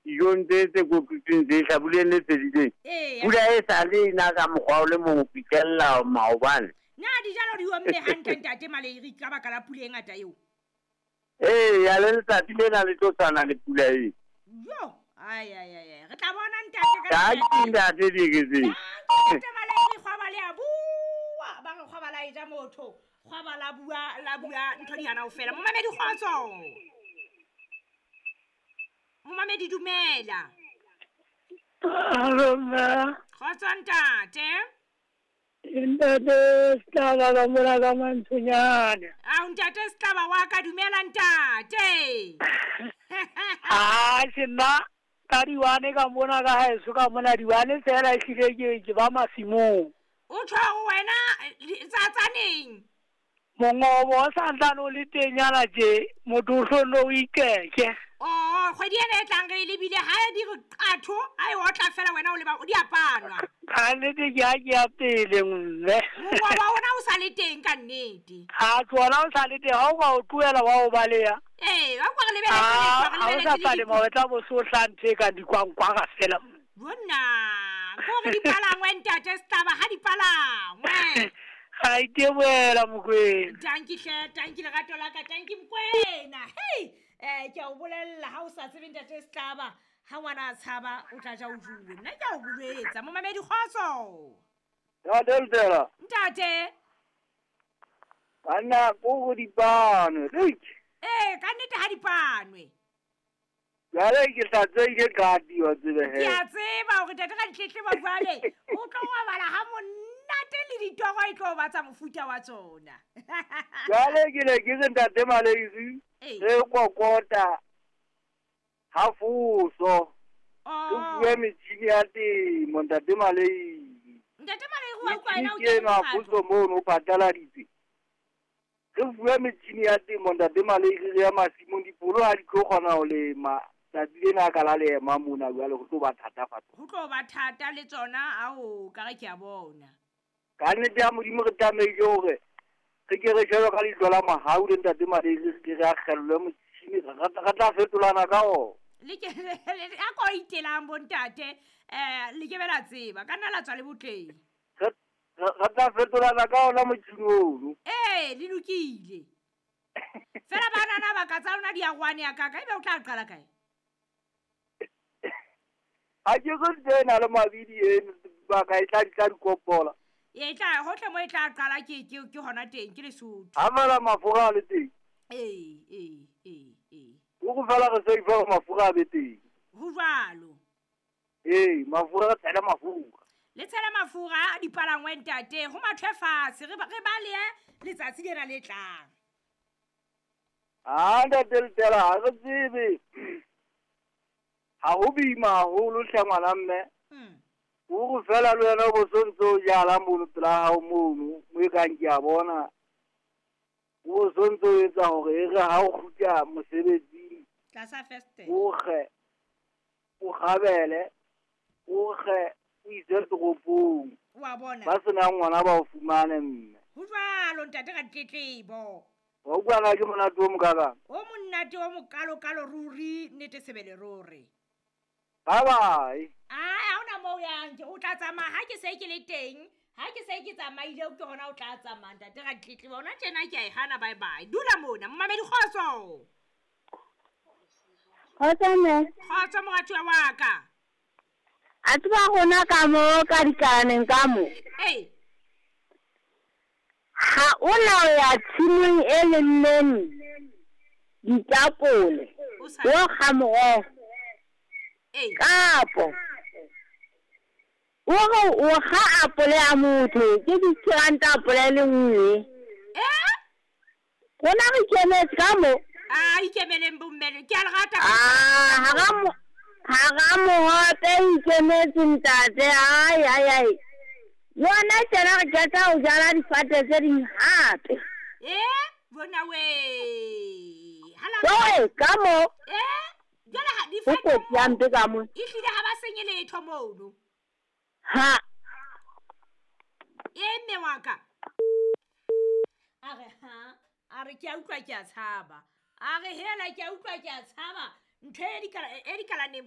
Dijong tse tse kotutsweng tse hlabuleng le fedileng. Ee. Pula e sa le ena ka mokgwa o le mong ho fihlella maobane. Na dijalo di omme hantle ntate Maleiri ka baka la pula e ngata eo? Ee, ya le letsatsi lena le tlo tshwana le pula eo. Yo, ai ai ai ai. Re tla bona ntate ka Ka letsatsi. ke ntate Dieketseng. Ntate Maleiri kgwaba le a bua. Ba re kgwaba la e ja motho. Kgwaba la bua la bua ntho di hana ho fela. Momamedi kgotso. Momamedi dumela. Alo mme. Kgotso ntate. Ntate Setlaba ka mona ka Mantshonyane. Ao ntate Setlaba wa ka dumela ntate. Atjhe nna ka diwane ka mona ka haeso ka mona diwane fela ehlile ke ke ba masimong. O tjho hore wena tsa tsaneng? Mongobo o santsane o le tenyana tje, motho o hlonne o ikeke. Oh, kgwedi ena e tlang re e lebile ha e di re qatho, ha e otla fela wena o leba di a panwa. Ka nnete ke ha ke ya pele mme. Mongobo ona o sa le teng ka nnete. Ha tsona o sa le teng, ha o ka o tlohela wa o baleha. Ee, wa kwa re lebeletse lehlwa, re Ha o sa lebeletse le palema o tla bo so hla ntho e kang dikwankwara fela. Bonna, ko re dipalangwe ntate Setlaba ha dipalangwe. Ga iteboela Mokwena. Tanki hle, tanki lerato la ka, tanki Mokwena. Hei, ke a o bolella ha o sa tsebe ntate Setlaba, ha ngwana a tshaba o tla ja o juwe. Nna ke a o jwetsa, momamedi kgotso. Ntate Lutela. Ntate. Banna ko go dipanwe. Ee, ka nnete ha dipanwe. Jwale ke hlatsweile qati wa tsebe he. Ke a tseba hore ntate ka ditletlebo jwale o tlo robala ha monate le ditoro e tlo ba tsa mofuta wa tsona. Jwale ke ne ke re ntate Maleiri re kokota ha foso. Oh. Re fuwe metjhini ya temo ntate Maleiri. Ntate Maleiri wa utlwa ena o Metjhini ke eno ha kene foso mono o pataladitse. Re fuwe metjhini ya temo ntate Maleiri re ya masimong dipolo ha di tlo kgona ho lema. Tsatsi lena ka la lema mona jwale ho tlo ba thata fatshe. Ho tlo ba thata le tsona ao ka re ke a bona. Ka nnete ya Modimo re tlamehile hore re ke re shebe ka leihlo la mohau le ntate Maleiri re ke re akgellwe motjhini re tla fetolana ka ona. Le ke a ko itelang bo ntate le ke be la tseba ka nna la tswa le botleng. Re tla fetolana ka ona motjhini ono. Ee, le lokile. Fela banana ba ka tsa lona di a rwane ya ka ka ebe o tla qala kae? Ha ke re ntho ena le mabidi eno ba ka e tla di tla dikopola. E tla hohle mo e tla qala ke ke ke hona teng ke Lesotho. Ha fela mafura a le teng. Ee, ee, ee, ee. O go fela re save hore mafura a be teng. Ho jwalo. Ee, mafura re tshela mafura. Le tshela mafura a dipalangwe ntate, ho mathwe fatshe re balehe letsatsi lena le tlang. Ha ntate Letela ha re tsebe. Ha ho boima haholo hle ngwana mme. O re fela le wena o bo so ntso o jala mono pela hao mono, mo e kang ke a bona. O bo so ntso o etsa hore e re ha o kgutla mosebetsing, Tlasa first. o kge, o kgabele, o kge, o ise toropong. Wa bona. Ba senang ngwana ba o fumane mme. Ho jwalo ntate ka ditletlebo. Wa utlwa na ke monate o mokakang? O monate o mokalokalo ruri, nnete sebele ruri. Bye bye. Ai, ha hona moo o yang ke o tla tsamaya ha ke se ke le teng, ha ke se ke tsamaile ke hona o tla tsamaya ntate ka ditletlebo. Hona tjena ke a e hana bye bye. Dula mona momamedi kgotso. Kgotso mme. Kgotso moratuwa wa ka. A tseba rona ka mo ka dikalaneng ka mo. Ee. Ha o na o ya tshimong e lemmeng ditapole, O sa o kga moroho. Ee. Kapo o re o kga apole ya motho ke 50 ranta apole e le nngwe. Eh? Rona re ikemetse ka mo. A ikemeleng bommele, ke a le rata. Ah, hara mohope ikemetse ntate. Ai ai ai. Yona tjena re qeta ho jala difate tse ding hape. Eh, bona we. Hala. Jwale ka mo. Eh, jwale ha Ho difate kotsi hampe ka mo. Ehlile ha ba senye letho mono. Ha. E mme wa ka. A re ha, a re ke a utlwa ke a tshaba. A re hela ke a utlwa ke a tshaba. Ntho e dikalaneng